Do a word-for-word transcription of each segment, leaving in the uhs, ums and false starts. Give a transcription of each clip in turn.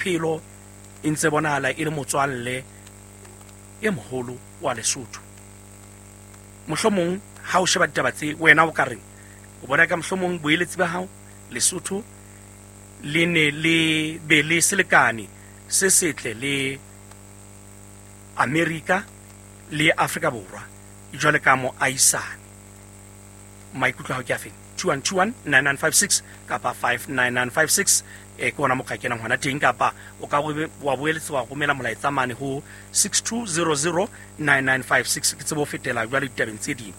Phelo e ntse bonahala e le motswalle e moholo wa Lesotho. Mohlomong ha o sheba ditaba tse wena o ka reng o bona ka mohlomong boeletsi ba hao Lesotho le ne le be le selekane se setle le Amerika le Afrika Borwa jwale ka moahisane. Maikutlo a hao ke afeng? two one two one nine nine five six kapa five nine nine five six e ke ona mo ka kenang hona teng, kapa o ka wa boeletsa wa romela molaetsa mane ho six two zero zero nine nine five six. Ke tsebo fetela jwale ditabeng tse ding.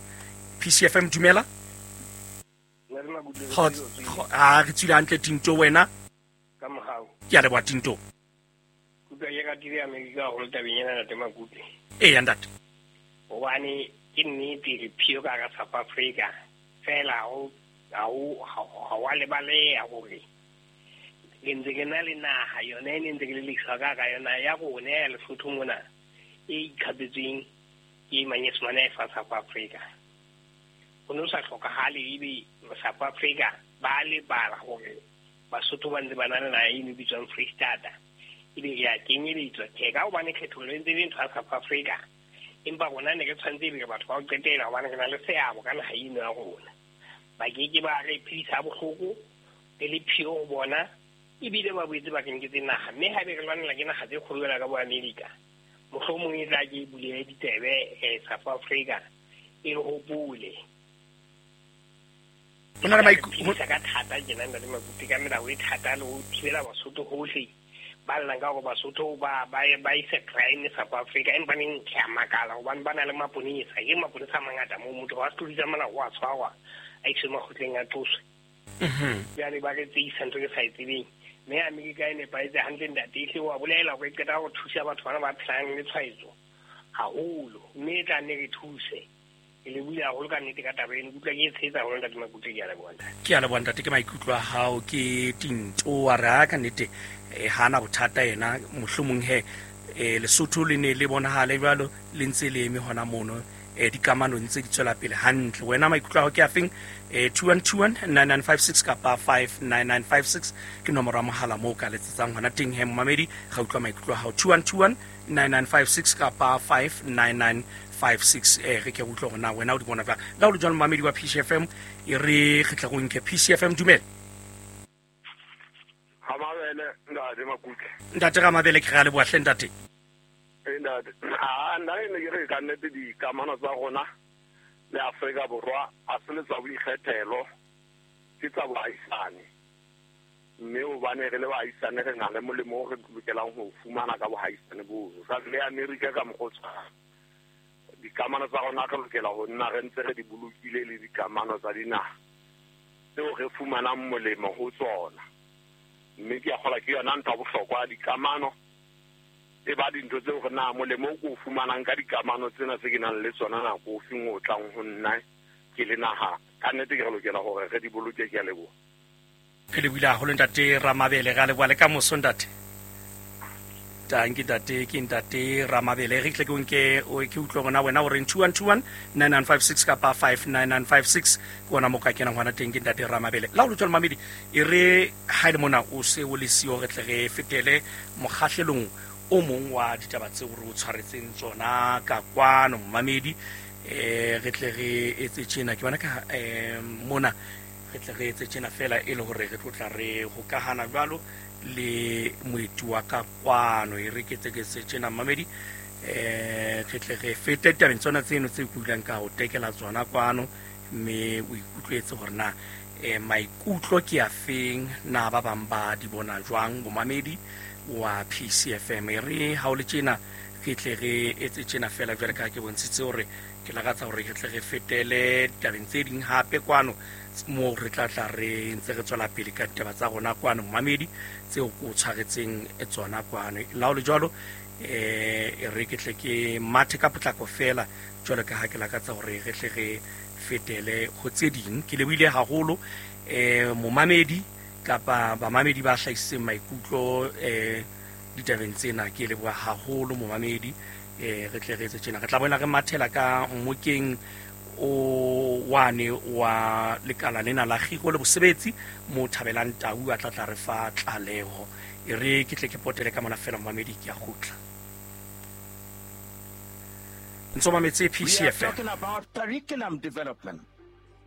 P C F M, dumela. A re tswile hantle Tinto wena? Ka mohau. Ke a leboha Tinto. Kutlwa ke ratile Amerika haholo tabeng ena, Ntate Makutle. Eya ntate. Hobane ke nnete re phio ka hara South Africa fela ha o ha wa lebaleha hore le ntse ke na le naha yona e ne ntse ke le lekisa ka ka yona ya rona ya Lesotho mona e ikgapetsweng ke Manyesemane a e fa South Africa. Ho no sa hlokahale ebe South Africa ba lebala hore Basotho ba ntse ba na le naha e no bitswang Free State, ebe re a kenyeletswa. Tjhe, ka hobane kgethollo e ntse e le ntho ya South Africa, empa rona ne re tshwanetse ebe re batho ba ho qetela hobane re na le seabo ka naha eno ya rona. Ba keke ba re phedisa bohloko re le phio ho bona, ebile ba boetse ba re nketse naha. Mme haebe re lwanela ke naha tse kgolo jwalo ka bo Amerika, mohlomong e tla ke e bulehe ditsebe South Africa e re hopole. Ho na le maikutlo ka thata tjena, Ntate Makutle, ka melao e thata le ho thibela Basotho hohle ba llang ka hore Basotho ba ba ba isa crime South Africa. Empa neng ke a makala hobane ba na le maponesa, ke maponesa a mangata moo motho wa tlodisa molao wa tshwarwa a iswe makgotleng a qoswe. Jwale ba re tseisa ntho ke sa e tsebeng. Mme Amerika e nepahetse hantle ntate, ehle wa bolela hore e qeta ho thusa batho bana ba phelang le tshwaetso haholo, mme e tla nne re thuse. Ke lebohile haholo ka nnete ka taba eno, ke utlwa ke e tshehetsa haholo Ntate Makutle. Ke a leboha ntate. Ke a leboha ntate, ke maikutlo a hao. Ke Tinto a re ha ka nnete ha ana bothata yena. Mohlomong he Lesotho le ne le bonahale jwalo le ntse le eme hona mono, dikamano ntse di tswela pele hantle. Wena maikutlo a hao ke afeng? two one two one nine nine five six kapa five nine nine five six ke nomoro ya mohala moo ka letsetsang hona teng he momamedi. Ga utlwa maikutlo a hao two one two one nine nine five six kapa five nine nine five six. Eh re ke utlwe hore na wena o di bona jwang. La o le jwang momamedi wa P C F M, e re re tla go nke P C F M. Dumela. Ramabele, Ntate Makutle. Ntate Ramabele, ke re a leboha hle ntate. Eh ntate, a nna ne ke re ka nnete dikamano tsa rona le Afrika Borwa a se le tsa boikgethelo, ke tsa boahisane. Mme hobane re le baahisane re na le molemo o re lokelang ho fumana ka boahisane boo. Jwale le Amerika ka mokgwa o tshwanang, dikamano tsa rona re lokela ho nna re ntse re di bolokile le dikamano tsa dinaha tseo re fumanang molemo ho tsona. Mme ke a kgolwa ke yona ntho ya bohlokwa, dikamano e ba dintho tseo re na molemo o ko fumanang ka dikamano tsena tse ke nang le tsona nako o feng o tlang ho nna ke le naha. Ka nnete ke re lokela hore re di boloke. Ke a leboha. Re lebohile haholo Ntate Ramabele, re a leboha le ka moso ntate. Tanki ntate, ke Ntate Ramabele. Re tle ke nke ke utlwe hore na wena o reng. Two one two one nine nine five six kapa five nine nine five six ke ona mo ka kenang hona teng, ke Ntate Ramabele. La o le jwalo mamedi, e re ha ile mona o se o le siyo, re tle re fetele mokgahlelong o mong wa ditaba tseo re o tshwaretseng tsona ka kwano mamedi. Eh re tle re etse tjena, ke bona ka eh mona re tle re etse tjena fela e le hore re tlo tla re hokahana jwalo le moeti wa ka kwano. E re ke tse ke se tjena mamedi, eh re tle re fete tabeng tsona tseno tse kulang ka ho tekela tsona kwano, mme o ikutlwetse hore na eh maikutlo ke a feng, na ba bang ba di bona jwang bomamedi wa P C F M. E re ha o le tjena re tle re etse tjena fela jwale ka ke bontshitse hore ke lakatsa hore re tle re fetele tabeng tse ding hape kwano moo re tla tla re ntse re tswela pele ka ditaba tsa rona kwano mamedi tseo ko tshwaretseng tsona kwano. La o le jwalo eh re ke tle ke mathe ka potlako fela jwalo ka ha ke lakatsa hore re tle re fetele ho tse ding. Ke lebohile haholo eh momamedi kapa bamamedi ba hlahisitseng maikutlo eh ditabeng tsena. Ke leboha haholo momamedi. Eh re tle re etse tjena, re tla bona re mathela ka mmokeng o wane wa lekala lena la kgiro le bosebetsi mo Thabelang Tau a tla tla re fa tlaleho E re ke tle ke potele ka mona fela momamedi ke a kgutla. Ntso mametse P C F M. We are talking about curriculum development.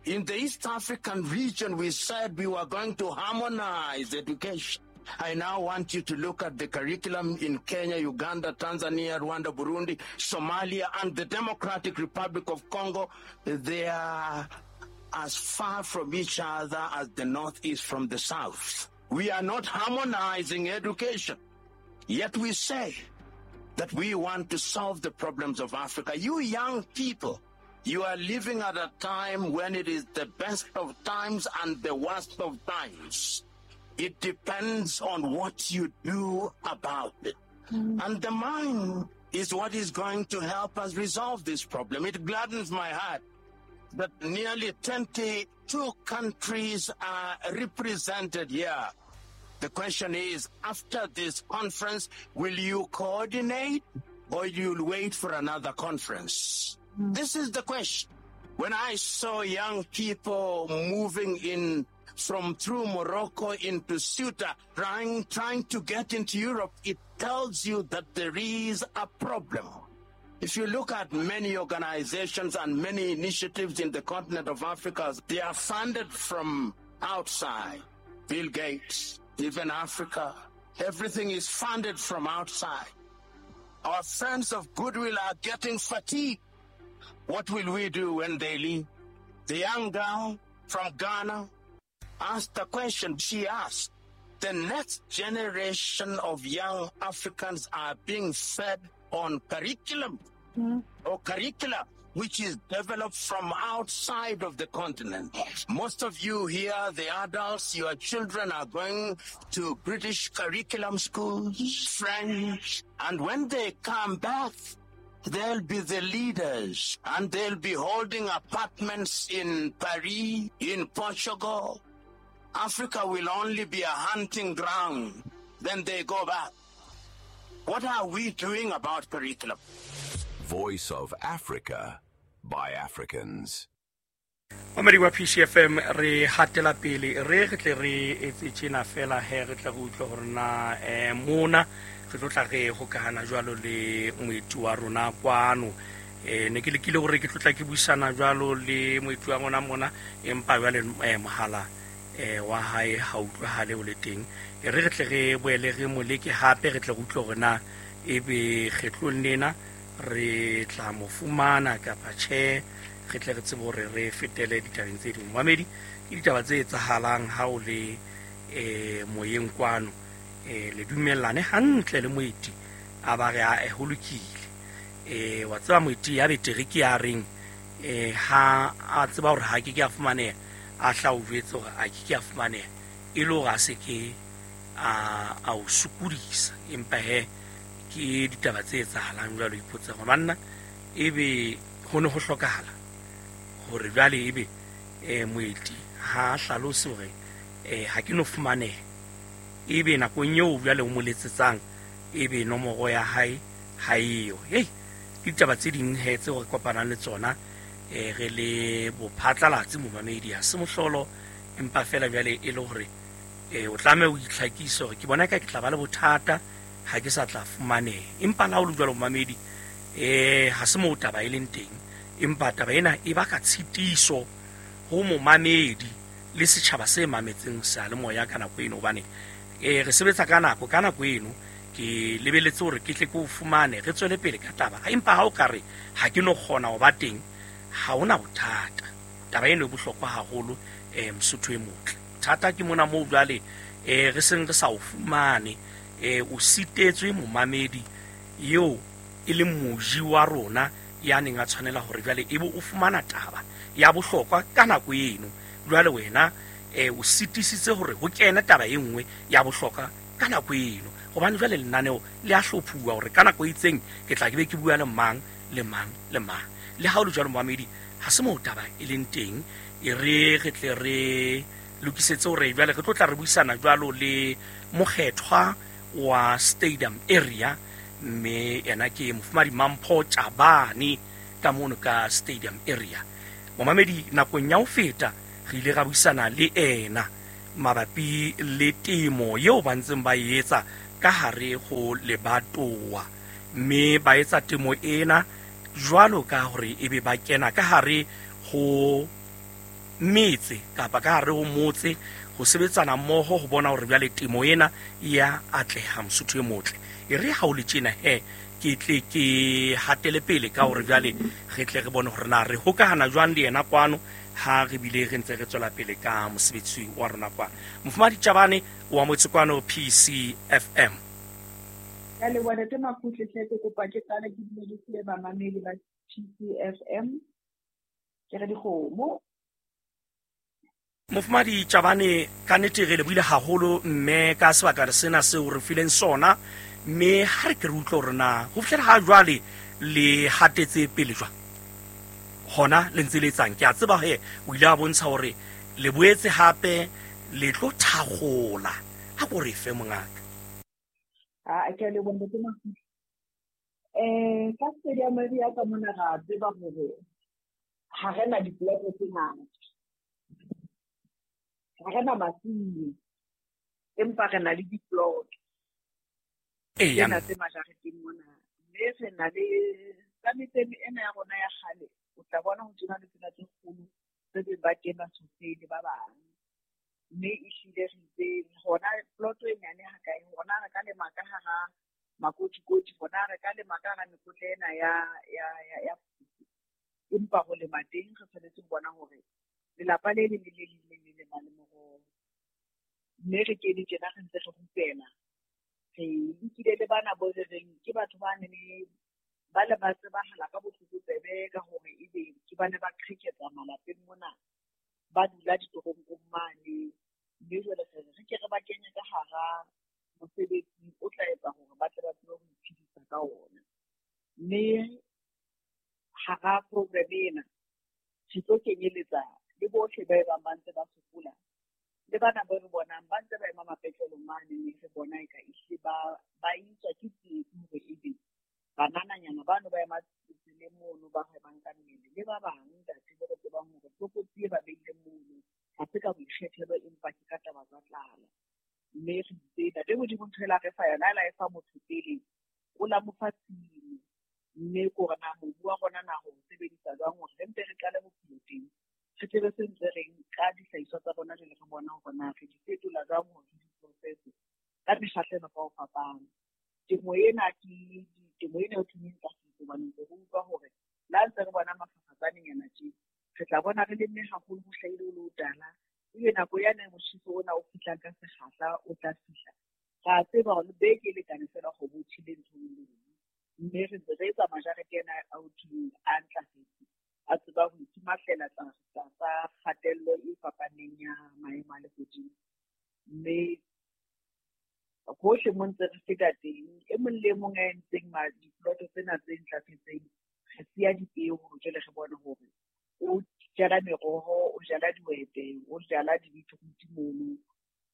In the East African region, we said we were going to harmonize education. I now want you to look at the curriculum in Kenya, Uganda, Tanzania, Rwanda, Burundi, Somalia, and the Democratic Republic of Congo. They are as far from each other as the North is from the South. We are not harmonizing education. Yet we say that we want to solve the problems of Africa. You young people, you are living at a time when it is the best of times and the worst of times. It depends on what you do about it. Mm. And the mind is what is going to help us resolve this problem. It gladdens my heart that nearly twenty-two countries are represented here. The question is, after this conference, will you coordinate or you'll wait for another conference? Mm. This is the question. When I saw young people moving in from through Morocco into Ceuta, trying, trying to get into Europe, it tells you that there is a problem. If you look at many organizations and many initiatives in the continent of Africa, they are funded from outside. Bill Gates, even Africa, everything is funded from outside. Our friends of goodwill are getting fatigued. What will we do when they leave? The young girl from Ghana asked the question she asked. The next generation of young Africans are being fed on curriculum mm. or curricula, which is developed from outside of the continent. Most of you here, the adults, your children are going to British curriculum schools, French, and when they come back, they'll be the leaders and they'll be holding apartments in Paris, in Portugal. Africa will only be a hunting ground. Then they go back. What are we doing about curriculum? Voice of Africa, by Africans. Mamedi wa P C F M re hatela pele re re tle re etse tjena fela he re tle re utlwe hore na eh mona re tlo tla re hokahana jwalo le moeti wa rona kwano. Eh ne ke lekile hore ke tlo tla ke buisana jwalo le moeti wa rona mona, empa jwale mohala eh wa hae ha utlwahale o le teng. E re re tle re boele re mo leke hape re tle re utlwe hore na ebe kgetlong lena re tla mo fumana kapa tjhe, re tle re tsebe hore re fetele ditabeng tse ding. Mamedi, ke ditaba tse etsahalang ha o le eh moyeng kwano, eh le dumellane hantle le moeti a ba re a ho lokile. Eh wa tseba moeti ya betere ke ya reng eh ha a tseba hore ha ke ke a fumaneha, a hla o jwetse hore a ke ke a fumaneha, e le hore a se ke a a o sokodisa. Empa he ke ditaba tse etsahalang jwalo, ipotsa hore banna ebe ho ne ho hlokahala hore jwale ebe eh moeti ha hlalose hore eh ha ke no fumaneha, ebe nakong eo jwale o mo letsetsang ebe nomoro ya hae ha eyo. Hei, ke ditaba tse ding he tseo re kopanang le tsona eh re le bophatlalatsi momamedi, ha se mohlolo, empa fela jwale e le hore eh o tlameha o itlhakise hore ke bona ka ke tla ba le bothata ha ke sa tla fumaneha. Empa la ho le jwalo momamedi eh ha se moo taba e leng teng, empa taba ena e baka tshitiso ho momamedi le setjhaba se mametseng seyalemoya ka nako eno, hobane eh re sebetsa ka nako ka nako eno ke lebeletse hore ke tle ke o fumane re tswele pele ka taba. Empa ha o ka re ha ke no kgona ho ba teng, ha hona bothata. Taba eno e bohlokwa haholo eh Mosotho e motle. Bothata ke mona moo jwale eh re seng re sa o fumane, eh o sitetswe momamedi eo e le moji wa rona ya neng a tshwanela hore jwale ebe o fumana taba ya bohlokwa ka nako eno. Jwale wena eh o sitisitse hore ho kene taba e nngwe ya bohlokwa ka nako eno, hobane jwale lenaneo le a hlophuwa hore ka nako e itseng ke tla ke be ke bua le mang le mang le mang. Le ha o le jwalo momamedi, ha se moo taba e leng teng. E re re tle re lokisetse hore jwale re tlo tla re buisana jwalo le mokgethwa wa Stadium Area, mme yena ke Mofumadi Mampho Tjabane ka mono ka Stadium Area. Momamedi, nakong ya ho feta re ile ra buisana le ena mabapi le temo eo ba ntseng ba e etsa ka hare ho lebatowa, mme ba etsa temo ena jwalo ka hore ebe ba kena ka hare ho metse kapa ka hare ho motse ho sebetsana mmoho ho bona hore jwale temo ena ya atleha. Mosotho e motle, e re ha o le tjena he ke tle ke hatele pele ka hore jwale re tle re bone hore na re hokahana jwang le yena kwano ha re bile re ntse re tswela pele ka mosebetsi wa rona kwano. Mofumahadi Chabane wa motse kwano P C F M. Ka leboha Ntate Makutle hle, ke kopa ke qale ke dumedise bamamedi ba P C F M. Ke re dikgomo. Mofumahadi Chabane, ka nnete re lebohile haholo mme ka sebaka sena seo re fileng sona, mme ha re ke re utlwe hore na ho fihlela ha jwale le hatetse pele jwang, hona le ntse le etsang. Ke a tseba he o ile a bontsha hore le boetse hape le tlo thakgola. Ha ko re fe mongaka. A ke a leboha Ntate Makutle. Eh ka stadium ya ka mona ra tseba hore ha re na dipoloto tse ngata, ha re na masimo, empa re na le diplot tsena tse majareteng mona. Mme re na le ka metseng ena ya rona ya kgale, o tla bona ho tjena le tsena tse kgolo tse beng ba teng ba tsofetse ba bang. Mme ehlile re itse hona ploto e nyane hakae, hona re ka lema ka hara makotikoti, hona re ka lema ka hara mekotla ena ya ya ya ya empa ho lema teng re tshwanetse ho bona hore lelapa le leng le le leng le lema le moroho. Mme re kene tjena re ntse re rupela, re nkile le bana bo re reng ke batho ba neng ba le ba tsebahala ka botlokotsebe ka hore ebe ke bane ba qheketsa malapeng mona, ba dula ditoronkong mane. Mme jwale re re ke re ba kenye ka hara mosebetsi o tla etsa hore ba tle ba tsebe ho iphedisa ka ona. Mme hara program ena re tlo kenyeletsa le bohle ba ebang ba ntse ba sokola, le bana ba re bonang ba ntse ba ema mapetlelong mane, mme re bona eka ehlile ba ba iswa ke tsietsi hore ebe banananyana bano ba ema tseleng mono ba hwebang ka mmele, le ba bang ntate bo re tsebang hore tlokotsi e ba beileng mono ha se ka boikgethelo empa ke ka taba tsa tlala. Mme re itse Ntate Modimo ntho e la re fa yona, la e fa motho pele, o la mo fa tshimo, mme ke hore na mobu wa rona na ho sebedisa jwang hore re mpe re qale bophelo teng, re tle be se ntse re nka dihlahiswa tsa rona jwale re bona hore na re di fetola jwang hore re di process-e ka mekgahlelo ka ho fapana. Temo ena ke temo ena e thomeng ntlafatso, hobane ntse re utlwa hore le ha ntse re bona mafafatsanenyana tje, re tla bona re lemme haholo ho hlahile o le o tala, ebe nako yane motjheso ona o fihlang ka sekgahla o tla fihla, ra tseba hore beke e lekane feela ho bo tjhele ntho e nngwe le nngwe. Mme re ntse re etsa majarete ena a ho thweng a ntlafetse, a tseba ho itumahlela tlasa kgatello e fapaneng ya maemo a lehodimo. Mme hohle mo ntse re feta teng, e mong le e mong a entseng diploto tsena tse ntlafetseng, re siya dipeo hore jwale re bone hore o jala meroho, o jala dihwete, o jala di-beetroot mono,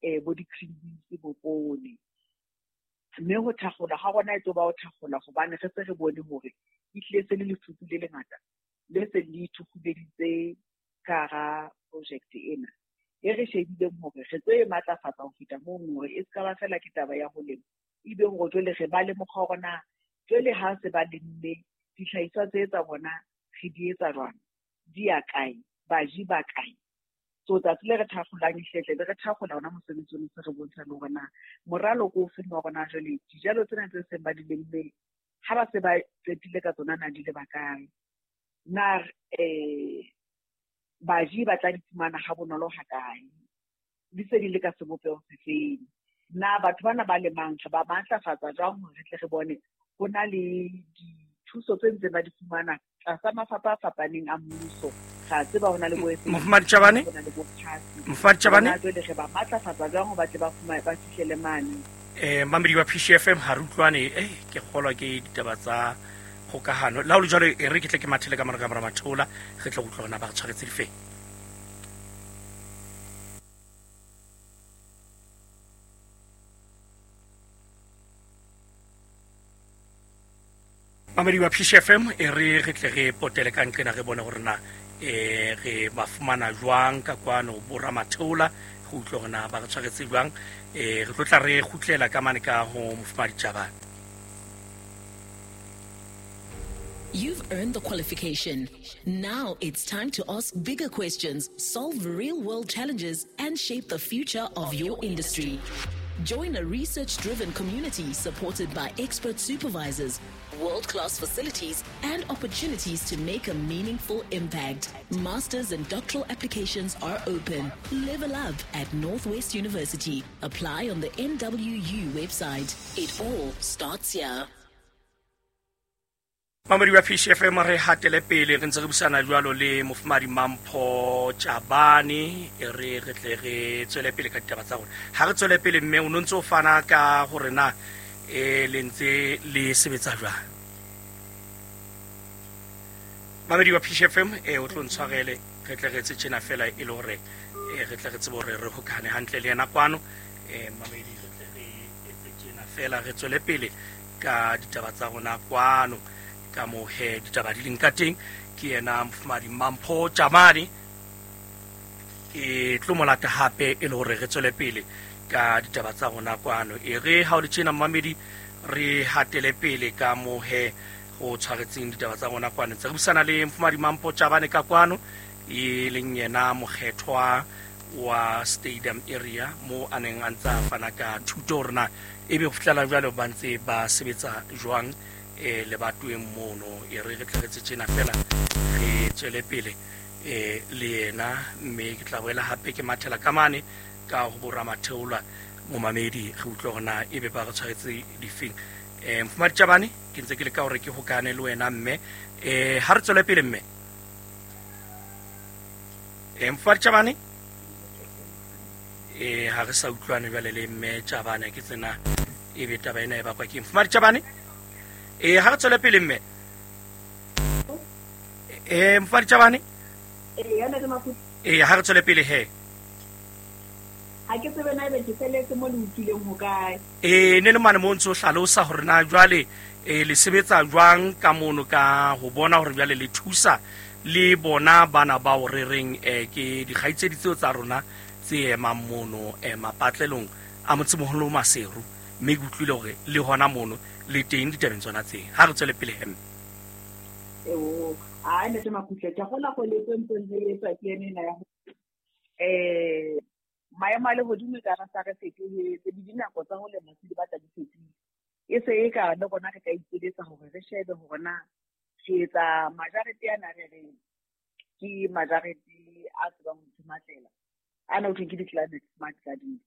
eh bo di-green beans, bo poone. Mme ho thakgola ha rona e tlo ba ho thakgola hobane re se re bone hore ehlile se le lefutu le lengata le se le ithukhubeditse ka hara project ena e re shebileng hore re tlo e matlafatsa ho feta moo, hore e ska ba fela ke taba ya ho lema, ebe hore jwale re ba le mokgwa wa rona jwale ha se ba lemme dihlahiswa tse tsa bona re di etsa jwang, di ya kae, baji ba kae. So tsatsi le re thakgolang ehlile tle re thakgola ona mosebetsi ono se re bontsha le hore na moralo ke ofeng wa rona jwale dijalo tsena tse seng ba di lemme ha ba se ba qetile ka tsona na di le ba kae, na eh baji ba tla di fumana ha bonolo ha kae, di se di le ka sebopeho sefeng, na batho bana ba lemang re ba matlafatsa jwang hore re tle re bone ho na le dithuso tse ntseng ba di fumana tlasa mafapha a fapaneng a mmuso. Ra tseba ho na le bo Mofumahadi Chabane, ho na le bo Phasi. Mofumahadi Chabane, Jwale re ba matlafatsa jwang hore ba tle ba fumane ba fihlele mane. Eh mamedi wa P C F M ha re utlwane, eh ke kgolwa ke ditaba tsa kgokahano. Le ha ho le jwalo, e re ke tle ke mathele ka mora ka mora mathola, re tle utlwa hore na ba re tshwaretse difeng. Mamedi wa P C F M, e re re tle re potele ka nqena re bone hore na eh re ba fumana jwang ka kwano bo ramatheola Go utlwe gore na ba re tshwaretse jwang. Eh re tlo tla re kgutlela ka mane ka ho Mofumahadi Chabane. You've earned the qualification. Now it's time to ask bigger questions, solve real-world challenges, and shape the future of your industry. Join a research-driven community supported by expert supervisors, world-class facilities, and opportunities to make a meaningful impact. Masters and doctoral applications are open. Level up at Northwest University. Apply on the N W U website. It all starts here. Mamedi wa Fish F M re hatele pele re ntse re busana jwalo le Mofumahadi Mampho Chabane e re re tle re tswele pele ka ditaba tsa rona. Ha re tswele pele mme o no ntse o fana ka hore na e le ntse le sebetsa jwang. Mamedi wa Fish F M e o tlo ntshwarele re tle re tse tjena fela e le hore re tle re tsebe hore re hokane hantle le yena kwano. Eh mamedi re tle re etse tjena fela re tswele pele ka ditaba tsa rona kwano. Ka mo he ditaba di leng ka teng ke yena Mofumahadi Mampho Chabane ke tlo mo lata hape e le hore re tswele pele ka ditaba tsa rona kwano. E re ha o le tjena mamedi re hatele pele ka mo he go tshwaretseng ditaba tsa rona kwano. Tse re busana le Mofumahadi Mampho Chabane ka kwano e leng yena mokgethwa wa stadium area mo a neng a ntsa fana ka thuto hore na ebe ho fihlela jwale ba ntse ba sebetsa jwang e lebatweng mono. E re re tletse tjena fela re tswele pele e le yena mme ke tla boela hape ke mathela ka mane ka ho boramatheolwa momamedi re utlwe hore na ebe ba re tshwaretse difeng. Eh Mofumahadi Chabane ke ntse ke le ka hore ke hokane le wena mme eh ha re tswele pele mme eh Mofumahadi Chabane eh ha re sa utlwane jwale le mme Chabane ke tsena ebe taba ena e bakwa ke Mofumahadi Chabane. Eh ha re tswele pele mme eh Mofumahadi Chabane eh yana ke mafuta eh ha re tswele pele he ha ke tsebe na ebe ke feletse mo le utlwileng ho kae. Eh ne le mane mo ntse o hlalosa hore na jwale eh le sebetsa jwang ka mono ka ho bona hore jwale le thusa le bona bana ba o re reng eh ke dikgaitsedi tseo tsa rona tse emang mono eh mapatlelong a motsemoholo Maseru mme ke utlwile hore le hona mono le teng ditabeng tsona tse. Ha re tswele pele hemme. Eo a ne tse makutle ke gola go le tsentse le etsa ke ene ena ya eh maemo a lehodimo ka re sa re fetohetse le dinako tsa ho lema di batla di fetohile. E se e ka le rona re ka itsebetsa hore re shebe hore na re etsa majarete ana re reng ke majarete a tsebang ho thumatlela ana o thweng ke di-climate smart garden.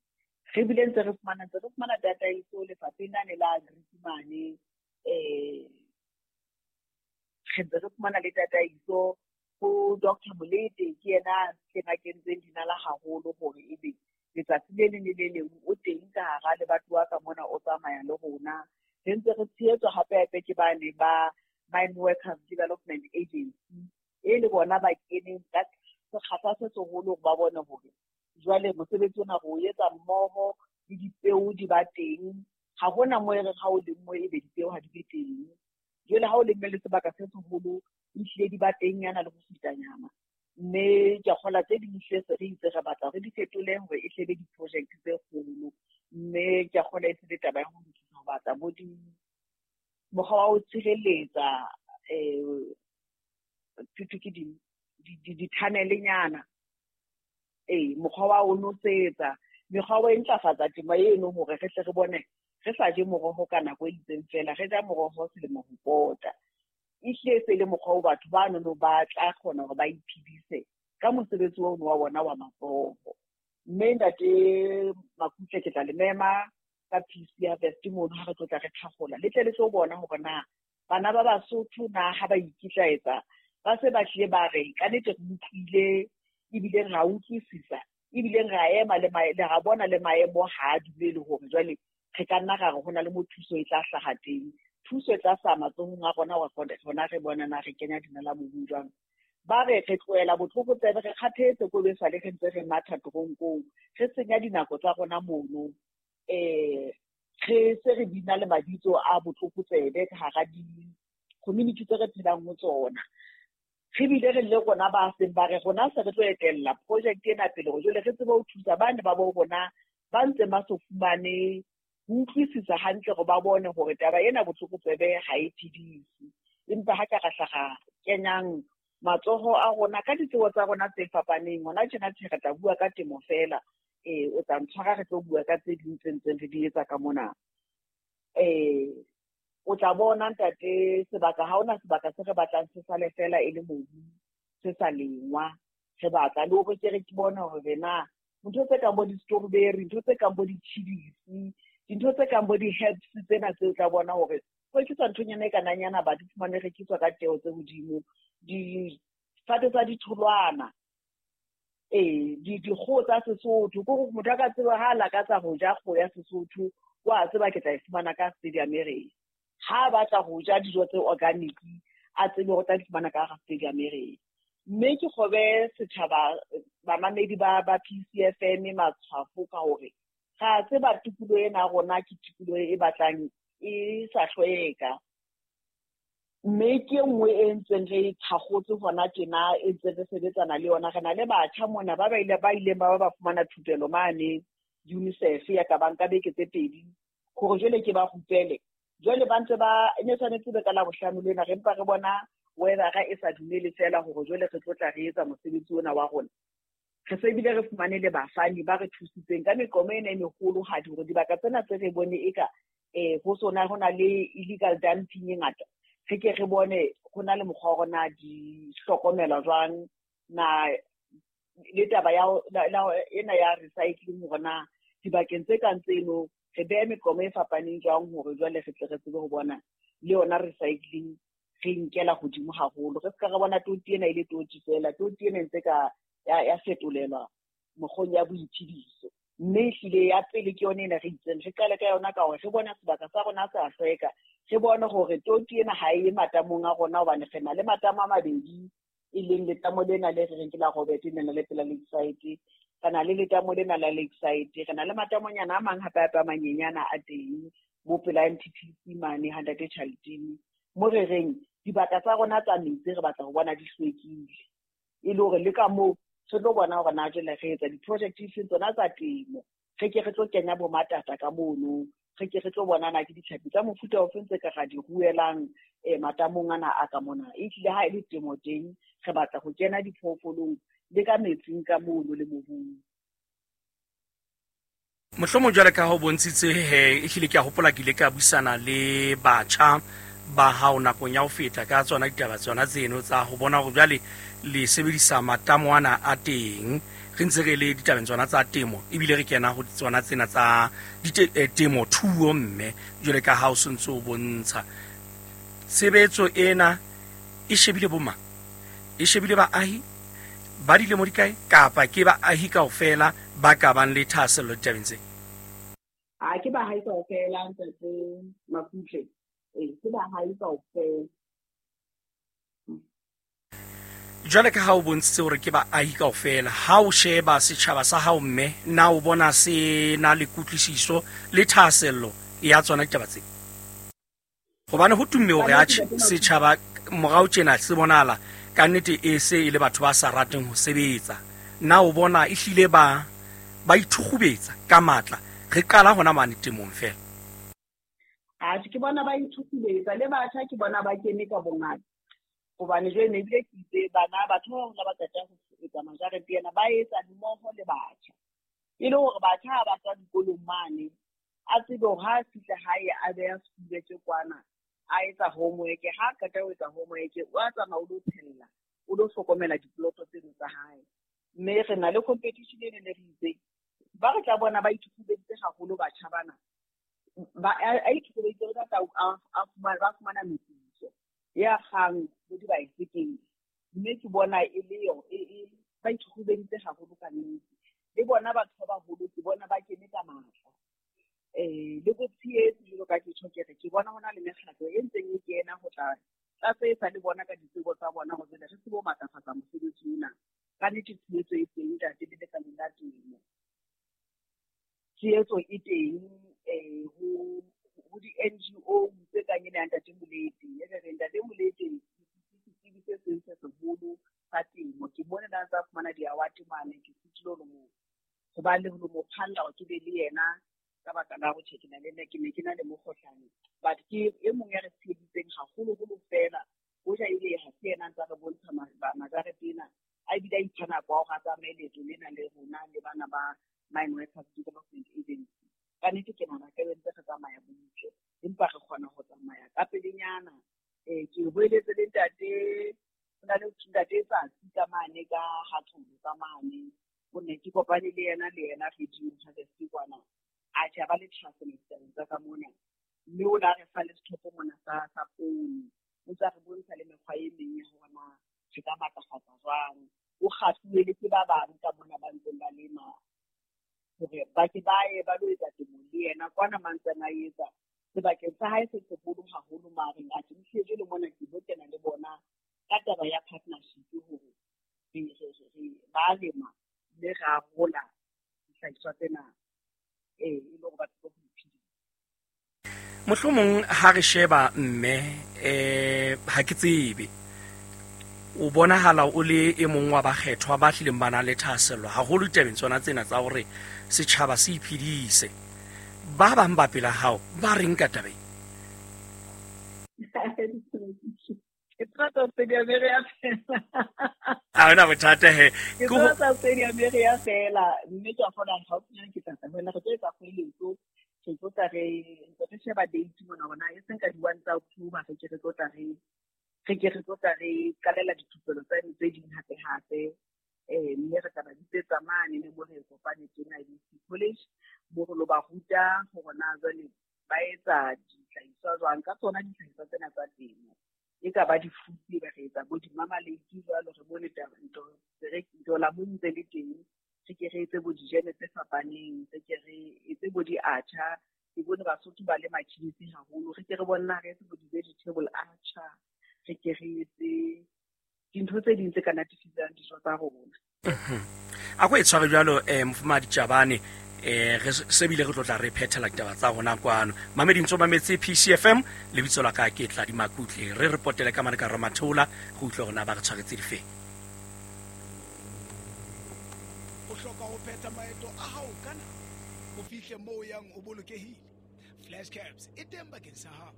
Re bile ntse re fumana ntse re fumana tataiso lefapheng lane la Agri mane eh re ntse re fumana le tataiso ho Doctor Molete ke yena ke na kentseng dinala haholo hore ebe letsatsi le leng le le leng o teng ka hara lebatowa ka mona o tsamaya le rona. Re ntse re tshehetswa hape hape ke bane ba Mine Workers Development Agency e le bona ba keneng ka sekgahla se seholo hore ba bone hore jwale mosebetsi ona re o etsa mmoho le dipeo di ba teng. Ha hona mo e reng ha o lemme ebe dipeo ha di be teng. Jwale ha o lemme le sebaka se seholo ehlile di ba teng nyana le ho fetanyana. Mme ke a kgolwa tse ding ehlile se re itse re batla re di fetole hore e hle be di-project tse kgolo. Mme ke a kgolwa e se le taba ya ho lokisa ho batla bo di mokgwa wa ho tshireletsa eh thuthu ke di di-tunnel-nyana. Eh mokgwa wa ho nosetsa, mekgwa wa ho ntlafatsa temo eno hore re tle re bone re sa je moroho ka nako e itseng fela, re ja moroho selemo ho pota. Ehlile se le mokgwa o batho ba nono ba tla kgona hore ba iphedise ka mosebetsi ono wa bona wa matsoho. Mme ntate Makutle ke tla le mema ka P C Harvest mono ha re tlo tla re thakgola le tle le tlo bona hore na bana ba Basotho na ha ba ikitlaetsa ba se ba hlile ba re ka nnete re utlwile ebile re a utlwisisa ebile re a ema le le ra bona le maemo ha a dumele hore jwale re ka nna ra re hona le mo thuso e tla hlaha teng. Thuso e tla hlaha matsohong a rona hore rona re bona na re kenya dinala mobung jwang. Ba re re tlohela botlokotsebe re kgathetse ko be sale re ntse re matha toronkong re senya dinako tsa rona mono eh re se re bina le mabitso a botlokotsebe ka hara di-community tse re phelang ho tsona. Re bile re le rona ba seng ba re rona se re tlo etella project ena pele hore jwale re tsebe ho thusa bane ba bo rona ba ntse ba so fumane ho utlwisisa hantle hore ba bone hore taba ena botlokotsebe ha e phedise. Empa ha ka ra hlaha kenyang matsoho a rona ka ditsebo tsa rona tse fapaneng. Hona tjena tje re tla bua ka temo feela, eh o tla ntshwara re tlo bua ka tse ding tse ntseng re di etsa ka mona. Eh o tla bona ntate sebaka ha ona sebaka se re batlang se sale fela e le mobu se sa lengwa. Re batla le hore ke re ke bone hore na ntho tse kang bo di-strawberry, ntho tse kang bo di-chillies, dintho tse kang bo di-herbs tsena tse o tla bona hore ho rekiswa nthonyana e kananyana ba di fumane rekiswa ka teo tse hodimo. Difate tsa ditholwana, eh di dikgoho tsa Sesotho, ke hore motho a ka tseba ha a lakatsa ho ja kgoho ya Sesotho, wa tseba ke tla e fumana ka stadium e reng. Ha batla ho ja dijo tse organic, a tsebe hore o tla di fumana ka hara stadium e reng. Mme ke kgobe setjhaba bamamedi ba ba P C F M matshwafo ka hore ra tseba tikoloho ena ya rona ke tikoloho e batlang e sa hlweka. Mme ke e nngwe e ntseng re e thakgotse hona tjena e ntse re sebetsana le yona. Re na le batjha mona ba ba ile ba ileng ba ba ba fumana thupelo mane UNICEF ya ka bang ka beke tse pedi hore jwale ke ba rupele. Jwale ba ntse ba ne tshwanetse be ka Labohlano lena, re mpa re bona weather e sa dumele fela hore jwale re tlo tla re etsa mosebetsi ona wa rona. Re se bile re fumane le bafani ba re thusitseng ka meqomo ena e meholohadi hore dibaka tsena tse re bone eka eh ho sona ho na le illegal dumping e ngata. Re ke re bone ho na le mokgwa wa rona di hlokomelwa jwang na le taba ya ena ya recycling hore na dibakeng tse kang tseno re behe meqomo e fapaneng jwang hore jwale re tle re tsebe ho bona le yona recycling re nkela hodimo haholo. Re ska re bona toti ena e le toti fela, toti ena e ntse ka ya ya fetolelwa mokgweng ya boiphediso. Mme ehlile ya pele ke yone ena re itseng re qale ka yona ka hore re bone sebaka sa rona se a hlweka, re bone hore toti ena ha e matamong a rona hobane re na le matamo a mabedi, e leng letamo lena le re reng ke la Robert lena le pela Lakeside, re na le letamo lena la Lakeside, re na le matamonyana a mang hape hape a manyenyana a teng mo pela M T T C mane ha ntate Charlton mo re reng dibaka tsa rona tsa metsi re batla ho bona di hlwekile, e le hore le ka moo re tlo bona hore na jwale re etsa di-project difeng tsona tsa temo, re ke re tlo kenya bo matata ka mono, re ke re tlo bona na ke ditlhapi tsa mofuta ofeng tse ka ra di ruelang eh matamong ana a ka mona. Ehlile ha e le temo teng re batla ho kena diphoofolong le ka metsing ka mono le mobung. Mohlomong jwale ka ha o bontshitse he ehlile ke a hopola ke ile ka buisana le batjha ba hao nakong ya ho feta ka tsona ditaba tsona tseno tsa ho bona hore jwale le sebedisa matamo ana a teng, re ntse re le ditabeng tsona tsa temo ebile re kena ho tsona tsena tsa temo thuo. Mme jwale ka ha o sentse o bontsha tshebetso ena e shebile bo mang, e shebile baahi ba dilemo di kae kapa ke baahi kaofela ba ka bang le thahasello ditabeng tse? A ke baahi kaofela ntate Makutle, eh ke baahi kaofela. Jwale ka ha o bontshitse hore ke baahi kaofela, ha o sheba setjhaba sa hao mme na o bona se na le kutlwisiso le thahasello ya tsona ditaba tse? Hobane ho tumme hore atjhe setjhaba morao tjena se bonahala ka nnete e se e le batho ba sa rateng ho sebetsa. Na o bona ehlile ba ba ithukgubetsa ka matla? Re qala hona mane temong fela. Atjhe ke bona ba ithukgubetsa le batjha ke bona ba kene ka bongata. Hobane jwale ne ebile ke itse bana batho ba rona ba qeta ho etsa majarete ena ba etsa mmoho le batjha. E le hore batjha ha ba tswa dikolong mane a tsebe hore ha a fihla hae a beha sekubetse kwana a etsa homework, ha a qeta ho etsa homework o a tsamaya o lo phella o lo hlokomela diploto tseno tsa hae. Mme re na le competition ene ne re itse ba re tla bona ba ithukubeditse haholo batjha bana ba a ithukubeditse ba tla a fumana ba fumana meputso ya kgang bo dibaesekele. Mme ke bona e le yo e ba ithukubeditse haholo ka nnete. Le bona batho ba baholo ke bona ba kene ka matla. Eh le bo tshehetso jwalo ka ke tjho ke re ke bona hona le mekgatlo e ntseng e kena ho tla tlatsetsa le bona ka ditsebo tsa bona hore re tsebe ho matlafatsa mosebetsi ona. Ka nnete tshehetso e teng ntate le lekaleng la temo. Tshehetso e teng eh ho ho di-N G O tse kang ena ya ntate Molete. E re reng ntate Molete ke setsebi se seng se seholo ba le ho mo phalla hore ke be le yena ka baka la ho tjhe ke na le nna ke ne ke na le mokgohlane. But ke e mong ya re tsheheditseng haholoholo fela hoja ile ha se yena ntsa re bontsha majarete ena a ebile a ipha nako ya hore a tsamaye leeto lena le rona le bana ba Mine Workers Development Agency. Ka nnete ke nahana ka ntse re tsamaya butle empa re kgona ho tsamaya ka pelenyana. Eh ke boeletse le ntate ho na le ntate Tsatsi ka mane ka Hatholo ka mane o ne ke kopane le yena le yena radio harvest kwana a tjha ba le thahasello ditabeng tsa ka mona mme o la re fa le sethopo mona sa sa poone o tsa re bontsha le mekgwa e meng ya hore na re ka matlafatsa jwang. O kgahluwe le ke ba bang ka mona ba ntseng ba lema hore ba ke ba ye ba lo etsa temo le yena kwana mantseng a etsa sebakeng sa hae se seholo haholo mareng a tse jwale mona ke bo kena le bona ka taba ya partnership hore re re re ba lema mme ra hola dihlahiswa tsena eh e le hore batho ba ho iphedisa. Mohlomong ha re sheba mme eh ha ke tsebe o bonahala o le e mong wa bakgethwa ba hlileng ba na le thahasello haholo ditabeng tsona tsena tsa hore setjhaba se iphedise. Ba bang ba pela hao ba reng ka tabeng? Ke tsota stadium e re ya fela. Ha hona bothata he. Ke tsota stadium e re ya fela mme ke a kgona haufinyana ke tla tla re tlo etsa kgoeletso re tlo tla re ntse re sheba date mona hore na e seng ka di-one tsa October re ke re tlo tla re re ke re tlo tla re qalela dithupelo tsa tse ding hape hape eh mme re tla ba bitsetsa mane le mo re kopane teng I B C College mo re lo ba ruta hore na jwale ba etsa dihlahiswa jwang ka tsona dihlahiswa tsena tsa temo e ka ba di-fruit ba re etsa bo di-marmalade jwalo re bone ntho ntho la mo ntse le teng re ke re etse bo dijeme tse fapaneng re ke re etse bo di-atchar ke bone Basotho ba le matjhisi haholo re ke re bona re etse bo di-vegetable atchar re ke re etse dintho tse ding tse ka natefisang dijo tsa rona. A ko e tshware jwalo eh Mofumahadi Chabane eh re se bile re tlo tla re phethela ditaba tsa rona kwano. Mamedi ntso mametse P C F M lebitso la ka ke Tladi Makutle re reportele ka mane ka Ramathola go utlwe rona ba re tshwaretse difeng. O hloka ho phetha maeto a hao ka nako o fihle moo o yang o bolokehile. Flash Cabs e teng bakeng sa hao.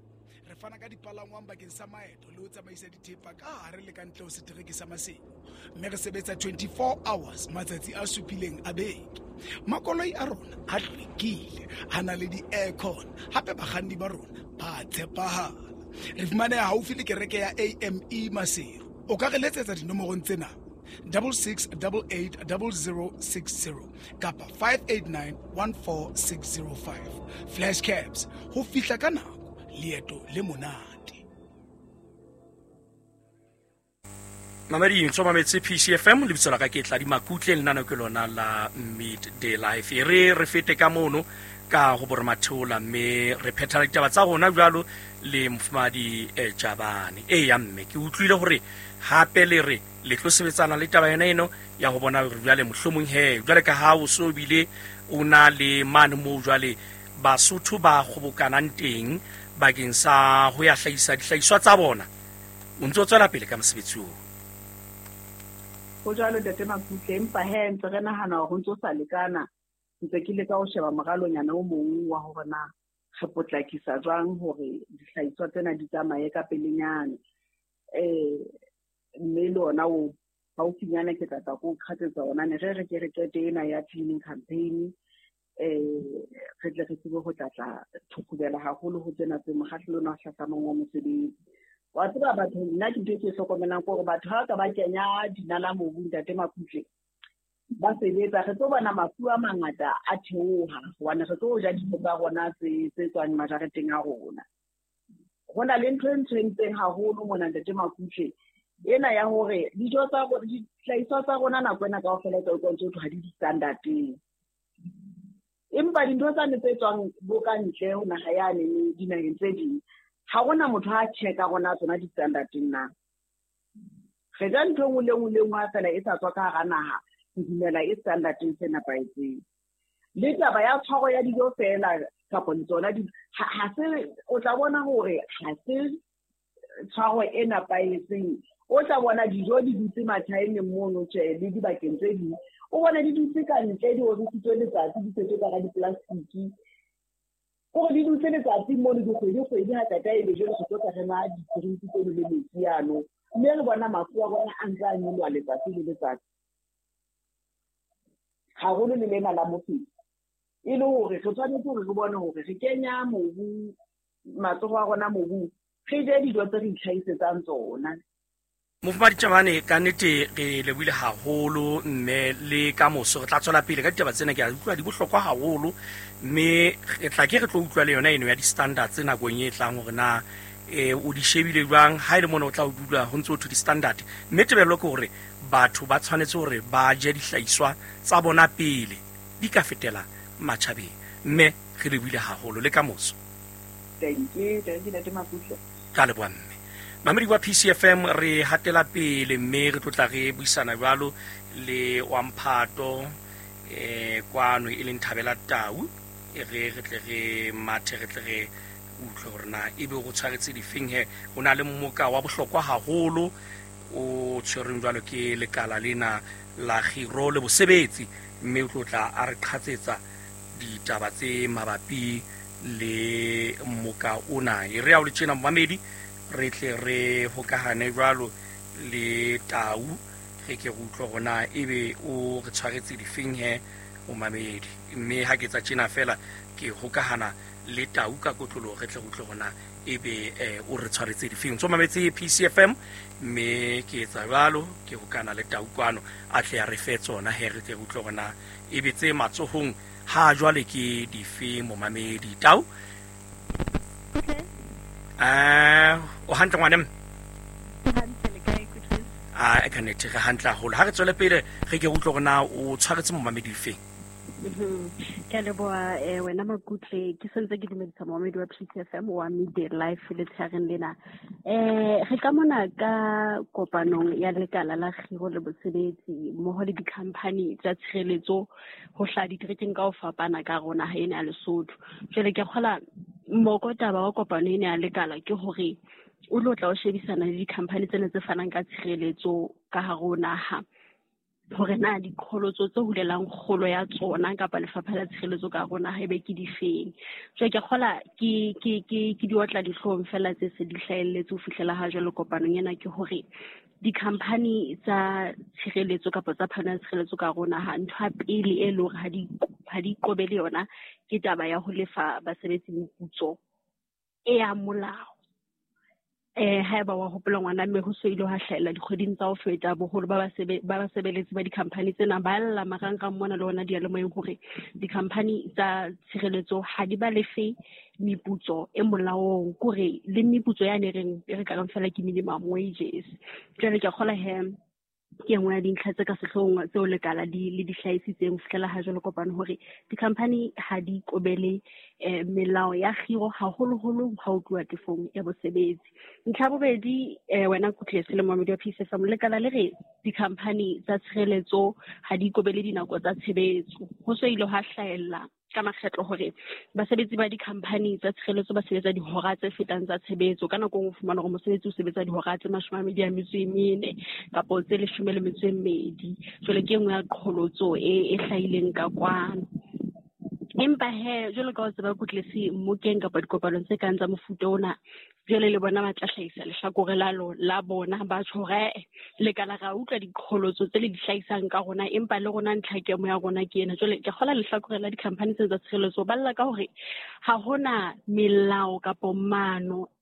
Re fana ka dipalangwang bakeng sa maeto le ho tsamaisa dithepa ka hare le ka ntle ho setereke sa Maseru mme re sebetsa twenty-four hours matsatsi a supileng a beke. Makoloi a rona a hlwekile, a na le di-aircon, hape bakganni ba rona ba tshepahala. Re fumaneha haufi le kereke ya A M E Maseru. O ka re letsetsa dinomorong tsena double six double eight double zero six zero kapa five eight nine one four six zero five. Flash Cabs ho fihla ka nako leeto le monate. Mamedi ntso mametse P C F M lebitso la ka ke Tladi Makutle lenaneo ke lona la Midday Life. E re re fete ka mono ka ho Boramatheola mme re phethela ditaba tsa rona jwalo le Mofumahadi eh, Chabane. E ya mme ke utlwile hore hape le re le tlo sebetsana le taba yona eno ya ho bona hore jwale mohlomong he jwale ka ha o so bile o na le mane moo jwale Basotho ba kgobokanang teng bakeng sa ho ya hlahisa dihlahiswa tsa bona. O ntso tswela pele ka mosebetsi oo. Ho jwalo Ntate Makutle empa he ntse re nahana hore ho ntso sa lekana ntse ke leka ho sheba moralonyana o mong wa hore na re potlakisa jwang hore dihlahiswa tsena di tsamaye ka pelenyana. Eh mme le ona o haufinyana ke tla tla ko qhatsetsa ona ne re re ke re qete ena ya cleaning campaign eh re tle re tsebe ho tla tla thokhubela haholo ho tsena tse mokgahlelo ona o hlahlamang wa mosebetsi. Wa tseba batho nna ke ntho e ke hlokomelang ke hore batho ha ka ba kenya dinala mobung Ntate Makutle ba sebetsa re tlo bona mafu a mangata a theoha hobane re tlo ja dijo tsa rona tse tse tswang majareteng a rona. Ho na le ntho e ntshwentseng haholo mona Ntate Makutle ena ya hore dijo tsa rona dihlahiswa tsa rona nako ena kaofela tsa utlwa ntse ho ha di di-standardeng. Empa dintho tsane tse tswang bo ka ntle ho naha yane dinaheng tse ding ha hona motho a checka rona tsona di-standardeng na. Re ja ntho e nngwe le nngwe le nngwe ha fela e sa tswa ka hara naha re dumela e standardeng se nepahetseng. Le taba ya tshwaro ya dijo fela kapa tsona di ha se o tla bona hore ha se tshwaro e nepahetseng. O tla bona dijo di dutse mathaeneng mono tje le dibakeng tse ding. O bone di dutse ka ntle di omisitswe letsatsi di setswe ka diplastiki. Gore di dutse letsatsi mo le dikgwedi kgwedi ha tata e be jwale re tlo tla re nwa di-drink tseno le metsi ano. Mme re bona mafu a bona a ntse a nyoloha letsatsi le letsatsi. Haholo le lena la mofetshe. E le hore re tshwanetse hore re bone hore re kenya mobu, matsoho a rona mobung, re je dijo tse re itlhahisetsang tsona. Mofumahadi Tjabane, ka nnete re lebohile haholo, mme le ka moso re tla tswela pele ka ditaba tsena. Ke a utlwa di bohlokwa haholo, mme re tla ke re tlo utlwa le yona eno ya di-standards nakong e tlang hore na eh o di shebile jwang. Ha ile mona o tla o dula ho ntse ho thwe di-standard, mme tebello ke hore batho ba tshwanetse hore ba je dihlahiswa tsa bona pele di ka fetela matjhabeng. Mme re lebohile haholo le ka moso. Thank you, thank you Ntate Makutle. Ka leboha mme. Mamedi wa P C F M re hatela pele, mme re tlotla re buisana jwalo le wa Mphato eh kwano e leng Thabela Tau. E re re tle re mathe, re tle re utlwe hore na ebe go tshwaretse difeng he. Ho na le mmoka wa bohlokwa haholo o tshwerweng jwalo ke lekala lena la Giro le bosebetsi, mme o tlotla a re qhatsetsa ditaba tse mabapi le mmoka ona. E re ya o le tjena momamedi, re tle re hokahane jwalo le Tau, re ke re utlwe hore na ebe o re tshwaretse difeng he momamedi. Mme ha ke tsa tjena fela ke hokahana le Tau ka kotloloho, re tle re utlwe hore na ebe eh, o re tshwaretse difeng. Ntso mametse P C F M, mme ke etsa jwalo ke hokana le Tau kwano, a tle a re fe tsona he, re tle re utlwe hore na ebe tse matsohong ha jwale ke dife momamedi. Tau, okay. Eh, o hantle ngwane mme? Hantle le kae Kutlwisi? Ah, e ka nnete re hantle haholo. Ha re tswele pele re ke utlwe hore na o tshwaretse momamedi difeng. Ke a leboha eh, wena Makutle. Ke sentse ke dumedisa momamedi wa P C F M wa Midday Life letshareng lena. Eh, re ka mona ka kopanong ya lekala la Giro le bosebetsi mmoho le di-company tsa tshireletso ho hlaha diterekeng ka ho fapana ka rona ha ena ya Lesotho. Jwale ke kgola moko taba wa kopano ena ya lekala ke hore o lo tla o shebisana le di-company tsena tse fanang ka tshireletso ka hare ho naha, hore na diqholotso tse hulelang kgolo ya tsona kapa lefapha la tshireletso ka rona ha ebe ke difeng. Jwale ke kgola ke ke ke ke di otla dihlong fela tse se di hlahelletse ho fihlela ha jwale kopanong ena, ke hore di-company tsa tshireletso kapa tsa phano ya tshireletso ka rona ha ntho ya pele e leng hore ha di ha di qobe le yona ke taba ya ho lefa basebetsi moputso e ya molao. Eh, haeba wa hopola ngwana mme ho so ile ha hlahella dikgweding tsa ho feta, boholo ba basebe ba basebeletsi ba di-company tsena ba lla marangrang mona le hona diyalemoyeng hore di-company tsa tshireletso ha di ba lefe meputso e molaong, kore le meputso ya ne reng e re ka reng fela ke minimum wages. Jwale ke a kgola he ke e nngwe ya dintlha tse ka sehloohong tseo lekala di le di hlahisitseng ho fihlela ha jwale kopano, hore di-company ha di kobele eh, melao ya kgiro haholoholo ha ho tluwa tefong ya bosebetsi. Ntlha ya bobedi, eh, wena Kutlwisi le momamedi wa P C F M, lekala le re di-company tsa tshireletso ha di ikobele dinako tsa tshebetso. Ho so ile ha hlahella ka makgetlo hore basebetsi ba di-company tsa tshireletso ba sebetsa dihora tse fetang tsa tshebetso. Ka nako e nngwe o fumana hore mosebetsi o sebetsa dihora tse mashome a mabedi a metso e mene kapa tse leshome le metso e mmedi. Jwale ke e nngwe ya qholotso e e hlahileng ka kwano. Empa he jwalo ka o tseba Kutlwisi, mmokeng kapa dikopanong tse kang tsa mofuta ona, jwale le bona ba tla hlahisa lehlakore la lo la bona, ba tjho hore lekala ra utlwa diqholotso tse le di hlahisang ka rona, empa le rona ntlhakemo ya rona ke ena. Jwale ke kgola lehlakore la di-company tse tsa tshireletso ba lla ka hore ha hona melao kapa mano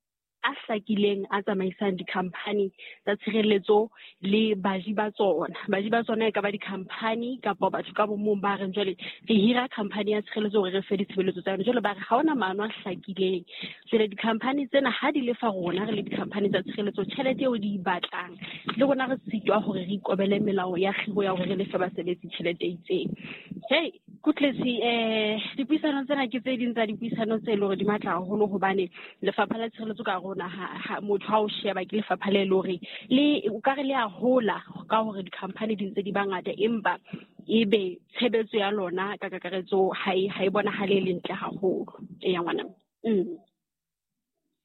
a hlakileng a tsamaisang di-company tsa tshireletso le baji ba tsona. Baji ba tsona e ka ba di-company kapa batho ka bomong ba reng jwale re hira company ya tshireletso hore re fe ditshebeletso tsa yona. Jwale ba re ha hona maano a hlakileng. Jwale di-company tsena ha di lefa rona re le di-company tsa tshireletso tjhelete eo di e batlang, le rona re sitwa hore re ikobele melao ya kgiro ya hore re lefe basebetsi tjhelete e itseng. Hey, Kutlwisi, eh dipuisano tsena ke tse ding tsa dipuisano tse leng hore di matla haholo, hobane lefapha la tshireletso ka rona ha motho ha o sheba ke lefapha le leng hore le o ka re le a hola ka hore di-company di ntse di bangata, empa ebe tshebetso ya lona ka kakaretso ha e ha e bonahale le ntle haholo. E ya ngwana. Mm.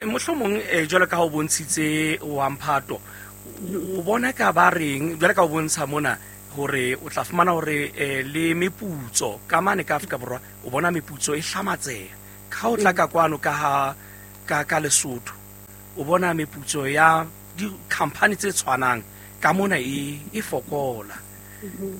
Mohlomong eh, jwalo ka ha o bontshitse wa Mphato, o bona ka ba reng jwalo ka o bontsha mona Hore o tla fumana hore eh, le meputso ka mane ka Afrika Borwa o bona meputso e hlamatseha. Ka o tla ka kwano ka ha ka ka Lesotho o bona meputso ya di-company tse tshwanang ka mona e e fokola.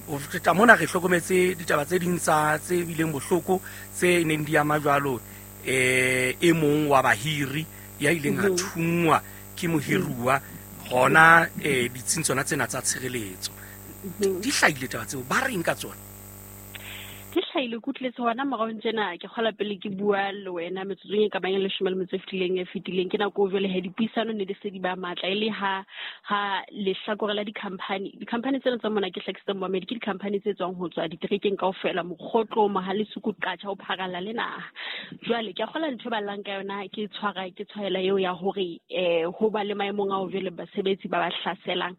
O feta mona re hlokometse ditaba tse ding tsa tse bileng bohloko tse neng di ama jwalo eh e mong wa bahiri ya ileng a thungwa ke mohiruwa hona eh ditsing tsona tsena tsa tshireletso. Di hlahile taba tseo ba reng ka tsona? Di hlahile kutletse hona moraong tjena ke kgola pele ke bua le wena metsotsong e ka bang leshome le metso e fetileng e fetileng ke nako jwale he dipuisano ne di se di ba matla e le ha ha lehlakore la di-company di-company tsena tsa mona ke hlakisitseng momedi ke di-company tse tswang ho tswa diterekeng kaofela Mokgotlo Mohalesuku Qacha ho pharalla le naha. Jwale ke a kgola ntho e ballang ka yona ke tshwara ke tshwaela eo ya hore eh ho ba le maemong ao jwale basebetsi ba ba hlaselang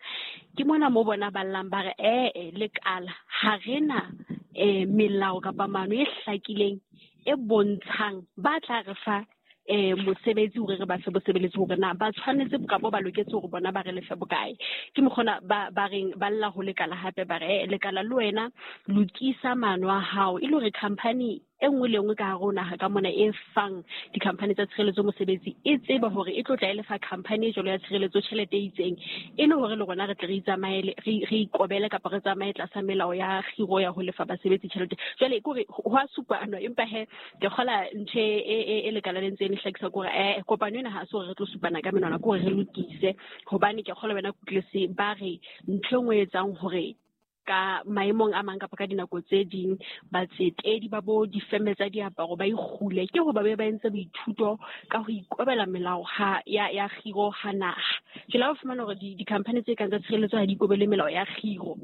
ke mona mo bona ballang ba re eh lekala ha rena eh melao kapa mano e hlakileng e bontshang ba tla re fa eh mosebetsi hore re ba fe bosebeletsi hore na ba tshwanetse kapa ba loketse hore bona ba re lefe bokae. Ke mokgona ba ba reng ba lla ho lekala hape ba re lekala le wena lokisa mano a hao e le hore company e nngwe le nngwe ka hare ho naha ka mona e fang di-company tsa tshireletso mosebetsi e tseba hore e tlo tla e lefa company e jwalo ya tshireletso tjhelete e itseng e le hore le rona re tle re itsamaele re re ikobele kapa re tsamaye tlasa melao ya kgiro ya ho lefa basebetsi tjhelete. Jwale ke hore ho a supanwa empa he ke kgola ntho e e e lekala le ntse e hlakisa hore eh kopano ena ha se hore re tlo supana ka menwana ke hore re lokise hobane ke kgola wena Kutlese ba re ntho e nngwe e etsang hore ka maemong a mang kapa ka dinako tse ding batsetedi ba bo difeme tsa diaparo ba ikgule ke ho ba be ba entse boithuto ka ho ikobela melao ha ya ya kgiro ha naha. Jwale ha o fumana hore di-company tse kang tsa tshireletso ha di ikobele melao ya kgiro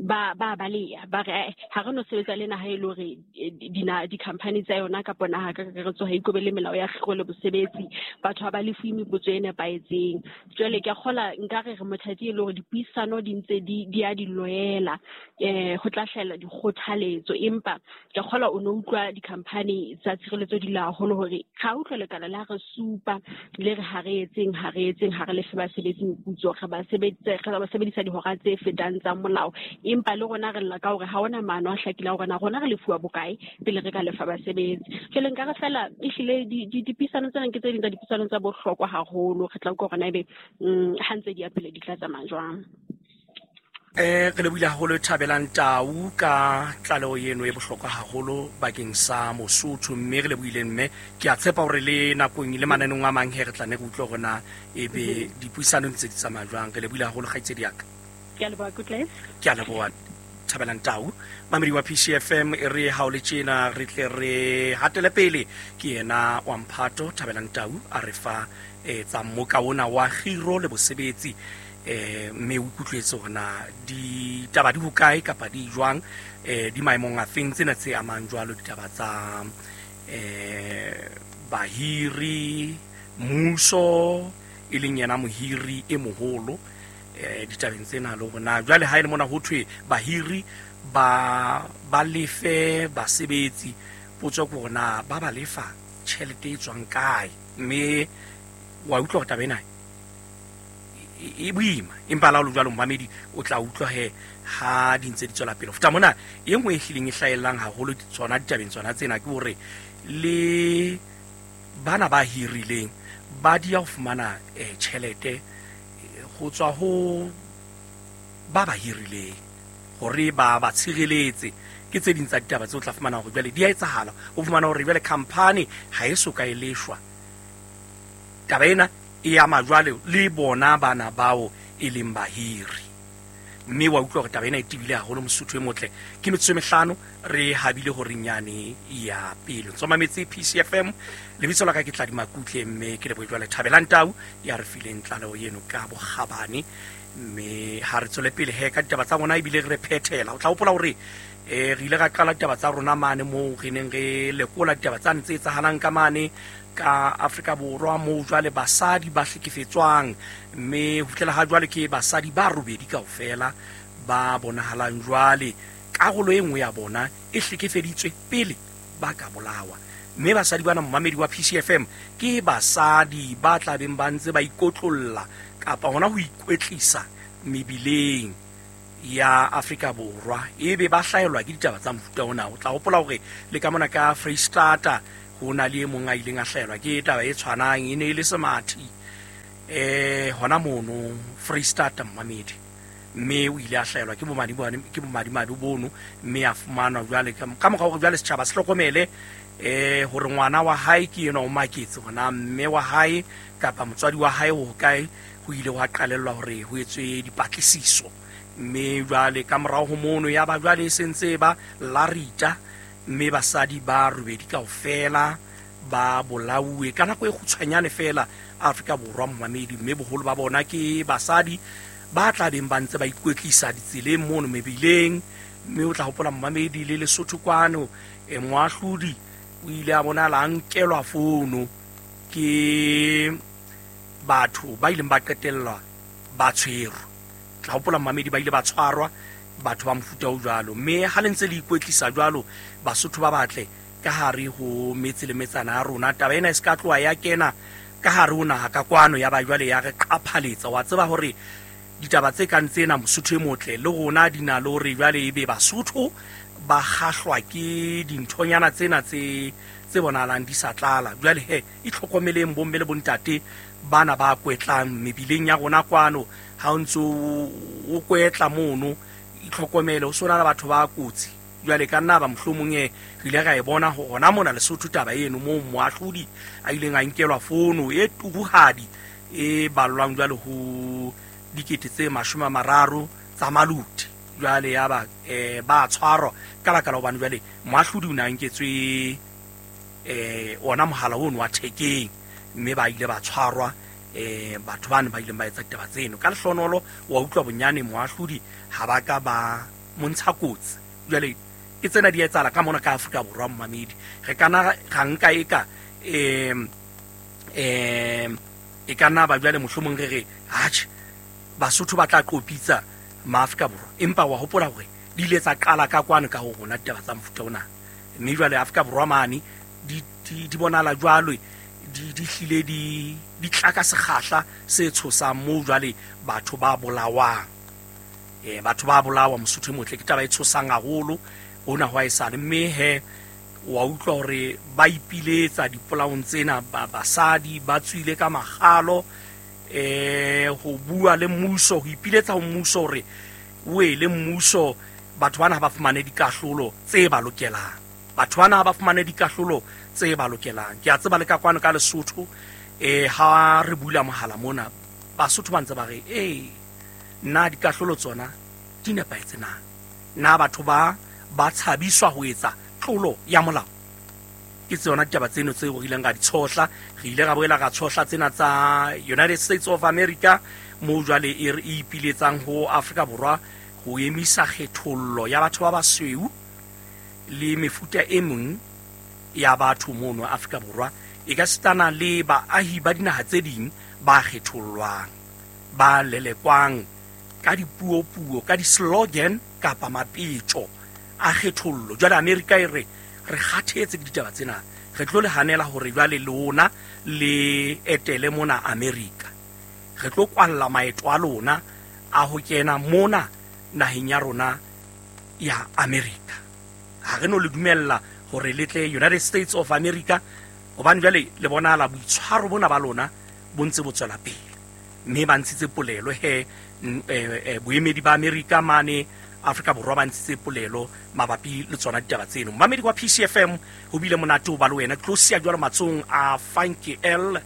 ba ba baleya ba re ha re no sebetsa le naha e le hore dina di-company tsa yona kapa naha ka kakaretso ha ikobele melao ya kgiro le bosebetsi batho ha ba lefuwe meputso e nepahetseng. Jwale ke a kgola nka re re mothati e le hore dipuisano di ntse di di a di loela eh ho tla hlahella dikgothaletso empa ke kgola o no utlwa di-company tsa tshireletso di la haholo hore ha utlwa lekala la re supa le re ha re etseng ha re etseng ha re lefe basebetsi moputso re ba sebedisa re ba sebedisa dihora tse fetang tsa molao empa le rona re lla ka hore ha ona maano a hlakileng hore na rona re lefuwa bokae pele re ka lefa basebetsi. Jwale nka re fela ehlile dipuisano tsena ke tse ding tsa dipuisano tsa bohlokwa haholo re tla utlwa hore na ebe ha ntse di ya pele di tla tsamaya jwang. Eh re lebohile haholo Thabelang Tau ka tlaleho eno e bohlokwa haholo bakeng sa Mosotho mme re lebohile mme ke a tshepa hore le nakong le mananeng a mang he re tla ne re utlwe hore na ebe dipuisano ntse di tsamaya jwang. Re lebohile haholo kgaitsedi ya ka. Ke a leboha Kutlese. Ke a leboha Thabelang Tau mamedi wa P C F M e re ha o le tjena re tle re hatele pele ke yena wa mphato Thabelang Tau a re fa eh tsa mmoka ona wa kgiro le bosebetsi eh mme o ikutlwetse hore na ditaba di hokae kapa di jwang eh di maemong a feng tsena tse amang jwalo ditaba tsa eh bahiri mmuso e leng yena mohiri e moholo eh ditabeng tsena le hore na jwale ha e le mona ho thwe bahiri ba ba lefe basebetsi potso ke hore na ba ba lefa tjhelete e tswang kae mme wa utlwa hore taba ena e boima empa la o jwalo momamedi o tla utlwa he ha di ntse di tswela pele. Feta mona e nngwe e hlileng e hlahellang haholo tsona ditabeng tsona tsena ke hore le bana ba hirileng ba dia ho fumana eh tjhelete ho tswa ho ba ba hirileng hore ba ba tshireletse. Ke tse ding tsa ditaba tse o tla fumana hore jwale di a etsahala o fumana hore jwale company ha e so ka e leshwa taba ena e ama jwale le bona bana bao e leng bahiri mme wa utlwa hore taba ena e tebile haholo Mosotho e motle. Ke metsotso e mehlano re habile hore nyane ya pele ntso mametse P C F M lebitso la ka ke Tladi Makutle mme ke lebohe jwale Thabelang Tau ya re fileng tlaleho eno ka bokgabane mme ha re tswele pele he ka ditaba tsa rona ebile re phethela. O tla hopola hore eh re ile ra qala ditaba tsa rona mane moo re neng re lekola ditaba tsane tse etsahalang ka mane ka Afrika Borwa moo jwale basadi ba hlekefetswang mme ho fihlela ha jwale ke basadi ba robedi kaofela ba bonahalang jwale karolo e nngwe ya bona e hlekefeditswe pele ba ka bolawa mme basadi bana momamedi wa P C F M ke basadi ba tlabeng ba ntse ba ikotlolla kapa hona ho ikwetlisa mebileng ya Afrika Borwa ebe ba hlaelwa ke ditaba tsa mofuta ona. O tla hopola hore le ka mona ka Freistata ho na le e mong a ileng a hlaelwa ke taba e tshwanang, e ne e le semathi eh hona mono Freistata mmamedi, mme o ile a hlaelwa ke bomadi ke bomadimabe bono, mme a fumanwa jwale ka mokgwa hore jwale setjhaba se hlokomele eh hore ngwana wa hae ke yena o maketse hona mme wa hae kapa motswadi wa hae ho kae. Ho ile wa qalellwa hore ho etswe dipatlisiso, mme jwale ka morao ho mono ya ba jwale e sentse ba larita, mme basadi ba robedi kaofela ba bolauwe ka nako e kgutshwanyane fela Afrika Borwa mmamedi, mme boholo ba bona ke basadi ba tla beng ba ntse ba ikwetlisa ditseleng mono mebileng. Mme o tla hopola mmamedi le Lesotho kwano e moahlodi o ile a bona la nkelwa fono ke batho ba ileng ba qetellwa ba tshwerwe. Tla hopola mmamedi ba ile ba tshwarwa batho ba mofuta o jwalo, mme ha le ntse le ikwetlisa jwalo Basotho ba batle ka hare ho metse le metsana ya rona, taba ena e se ka tloha ya kena ka hare ho naha ka kwano ya ba jwale ya re qaphaletsa. Wa tseba hore ditaba tse kang tsena Mosotho e motle le rona di na le hore jwale ebe Basotho ba kgahlwa ke dinthonyana tsena tse tse bonahalang di sa tlala. Jwale he itlhokomeleng bomme le bontate bana ba kwetlang mebileng ya rona kwano. Ha o ntso o kwetla mono itlhokomele, o sona le batho ba kotsi. Jwale ka nna ba mohlomong e re ile ra e bona ho hona mona Lesotho taba eno moo moahlodi a ileng a nkelwa fono e turuhadi e ballwang jwale ho dikete tse mashome a mararo tsa maluti. Jwale ya ba eh, ba tshwarwa ka baka la hobane jwale moahlodi o ne a nketswe eh ona mohala ono wa thekeng, mme ba ile ba tshwarwa eh batho bana ba ileng ba etsa ditaba tseno. Ka lehlonolo wa utlwa bonyane moahlodi ha ba ka ba montsha kotsi. Jwale ke tsena di etsahala ka mona ka Afrika Borwa mmamedi, re kana ra nka e ka em em e kana ba jwale mohlomong re re atjhe Basotho ba tla qopitsa maAfrika Borwa, empa wa hopola hore di ile tsa qala ka kwano ka ho rona ditaba tsa mofuta ona, mme jwale Afrika Borwa mane di di bonala jwalo di di hlile di di tlaka sekgahla se tshosang moo jwale batho ba bolawang eh batho ba bolawa Mosotho e motle. Ke taba e tshosang haholo hona ho esale, mme he wa utlwa hore ba ipiletsa dipolaong tsena ba basadi ba tswile ka magalo eh ho bua le mmuso, ho ipiletsa ho mmuso hore o ele mmuso batho bana ha ba fumane dikahlolo tse ba lokelang, batho bana ha ba fumane dikahlolo tse ba lokelang. Ke a tseba le ka kwano ka Lesotho eh ha re bula mohala mona Basotho ba ntse ba re eh nna dikahlolo tsona di nepahetse na, na batho ba ba tshabiswa ho etsa tlolo ya molao. Ke tsona ditaba tseno tseo re ileng ra di tshohla. Re ile ra boela ra tshohla tsena tsa United States of America moo jwale e re ipiletsang ho Afrika Borwa ho emisa kgethollo ya batho ba basweu le mefuta e meng ya batho mono Afrika Borwa, e ka sitana le baahi ba dinaha tse ding ba kgethollwang, ba lelekwang ka dipuo-puo, ka di-slogan kapa mapetjo a kgethollo. Jwale Amerika e re re kgathetse ke ditaba tsena, re tlo le hanela hore jwale lona le etele mona Amerika, re tlo kwalla maeto a lona a ho kena mona naheng ya rona ya Amerika. Ha re no le dumella hore le tle United States of America, hobane jwale le bonahala boitshwaro bona ba lona bo ntse bo tswela pele. Mme ba ntshitse polelo he boemedi ba Amerika mane Afrika Borwa ba ntshitse polelo mabapi le tsona ditaba tseno. Mmamedi wa P C F M, ho bile monate ho ba le wena. Tlo siya jwalo matsong a Funky L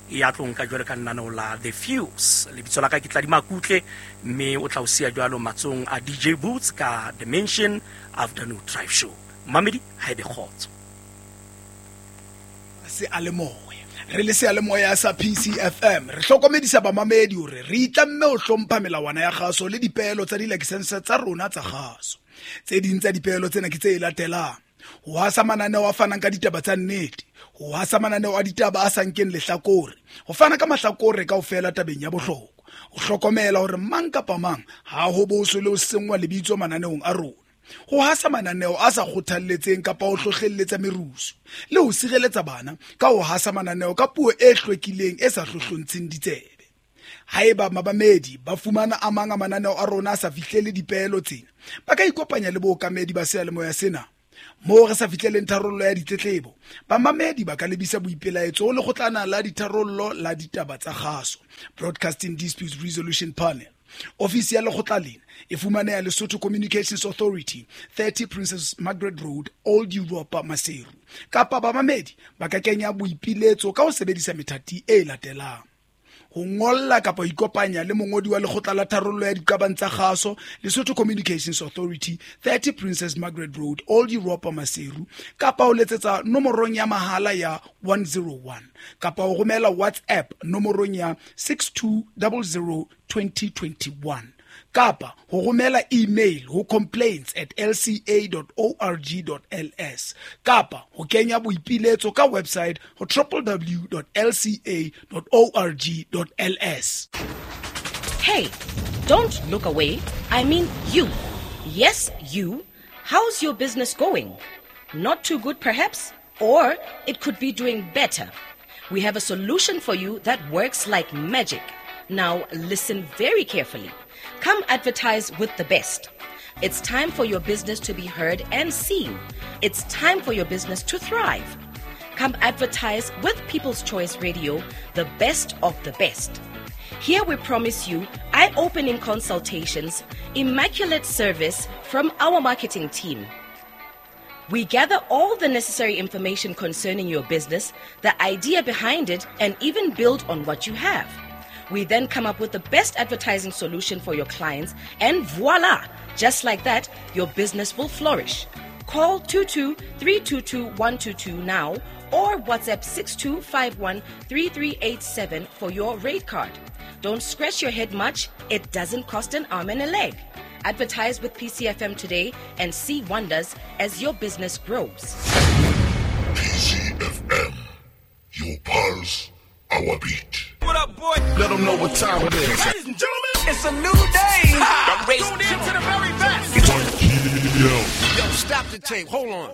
ya tlo nka jwalo ka lenaneo la The Fuse. Lebitso la ka ke Tladi Makutle, mme o tla o siya jwalo matsong a D J Boots ka Dimension Afternoon Drive Show. Mmamedi, ha ebe kgotso. Se a le moya re le seyalemoya sa P C F M re hlokomedisa bamamedi hore re itlamme ho hlompha melawana ya kgaso le dipeelo tsa dilakesense tsa rona tsa kgaso. Tse ding tsa dipeelo tsena ke tse latelang: ho hasa mananeo a fanang ka ditaba tsa nnete, ho hasa mananeo a ditaba a sa nkeng lehlakore, ho fana ka mahlakore kaofela tabeng ya bohlokwa, ho hlokomela hore mang kapa mang ha ho boswe le ho senngwa lebitso mananeong a rona, ho hasa mananeo a sa kgothalletseng kapa ho hlohlelletsa merusu, le ho sireletsa bana ka ho hasa mananeo ka puo e hlwekileng e sa hlohlontsheng ditsebe. Haeba mabamedi ba fumana a mang a mananeo a rona a sa fihlele dipeelo tsena, ba ka ikopanya le bookamedi ba seyalemoya sena. Moo re sa fihleleng tharollo ya ditletlebo, bamamedi ba ka lebisa boipelaetso ho lekgotlana la ditharollo la ditaba tsa kgaso, Broadcasting Disputes Resolution Panel. Ofisi ya lekgotla lena e fumaneha Lesotho Communications Authority, thirty Princess Margaret Road, Old Europa, Maseru. Kapa bamamedi ba ka kenya boipiletso ka ho sebedisa methati e latelang: ho ngolla kapa ho ikopanya le mongodi wa lekgotla la tharollo ya diqabang tsa kgaso, Lesotho Communications Authority, thirty Princess Margaret Road, Old Europa, Maseru, kapa ho letsetsa nomorong ya mahala ya one zero one, kapa ho romela WhatsApp nomorong ya six two zero zero twenty twenty-one, kapa ho romela email ho complaints at l c a dot org dot l s, kapa ho kenya boipiletso ka website ho w w w dot l c a dot org dot l s. Hey, don't look away. I mean you. Yes, you. How's your business going? Not too good perhaps, or it could be doing better. We have a solution for you that works like magic. Now listen very carefully. Come advertise with the best. It's time for your business to be heard and seen. It's time for your business to thrive. Come advertise with People's Choice Radio, the best of the best. Here we promise you eye-opening consultations, immaculate service from our marketing team. We gather all the necessary information concerning your business, the idea behind it, and even build on what you have. We then come up with the best advertising solution for your clients, and voila! Just like that, your business will flourish. Call two two three two two one two two now or WhatsApp six two five one three three eight seven for your rate card. Don't scratch your head much. It doesn't cost an arm and a leg. Advertise with P C F M today and see wonders as your business grows. P C F M, your pulse, our beat. What up, boy? Let them know what time it is. Ladies and gentlemen, it's a new day. Ha! Tune in to the very best. Yo. Yo, stop the tape. Hold on.